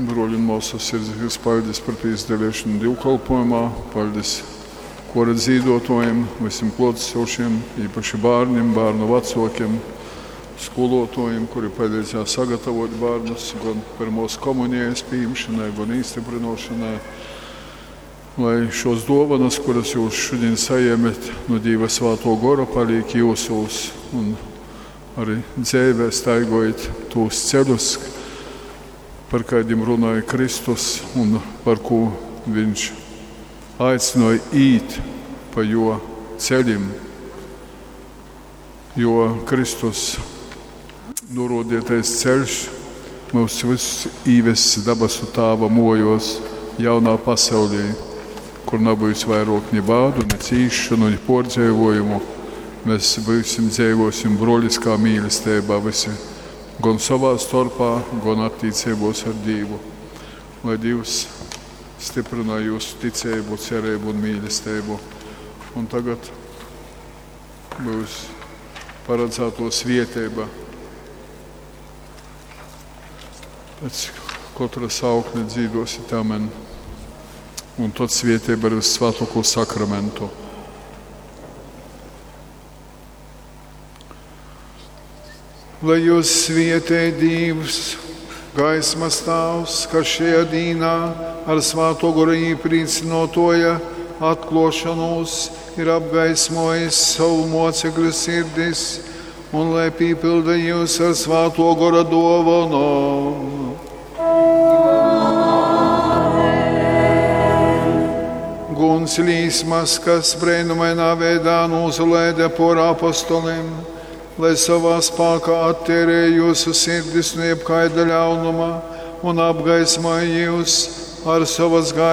Bruoļi un muosys, sirsnīgs paļdis par pīsadaliešanu dīvkolpojumā. Paļdis kora dzīduotuojim, vysim kluotasūšim, īpaši bārnim, bārnu vacuokim, skolotuojim, kuri paleidzēja sagatavot bārnus gon pyrmuos komunijas pījimšanai, gon īstyprynuošonai. Lai šos duovanas, kuras jūs šodien sajēmet no Dīva Svātuo Gora, palīk jūsūs un arī dzeivē staigojit tūs ceļus, par kaidim runāja Kristus un par ko viņš aicināja īt pa jo ceļim, jo Kristus norodītais ceļš mūs visus īvess dabasu tāva mojos jaunā pasaulī, kur nebūs vairāk ni bādu, ni cīšanu, ni pordzeivojumu. Mēs būsim dzīvosim broliskā mīlestībā visi, gan savā starpā, gan attiecībos ar Dievu. Lai Dievs stiprina jūsu ticību, cerību un mīlestību. Un tagad būs paredzēto svieteiba. Pēc katra saukļa dzīdosit amen. Un tad svieteiba ar Svētoko sakramentu. Lai jūs svietē Dievs, gaismas tāvs, kas šajā dīnā ar svāto goru īprīcinotoja atklošanos ir apgaismojis savu mocekļu sirdis, un lai pīpilda jūs ar svāto gora dovanu. Guns līsmas, kas brēnumainā veidā nūzalaida por apostolim, lai savā spākā attērē jūsu sirdis no jebkaida ļaunuma un apgaismoja jūs ar savas gaismas.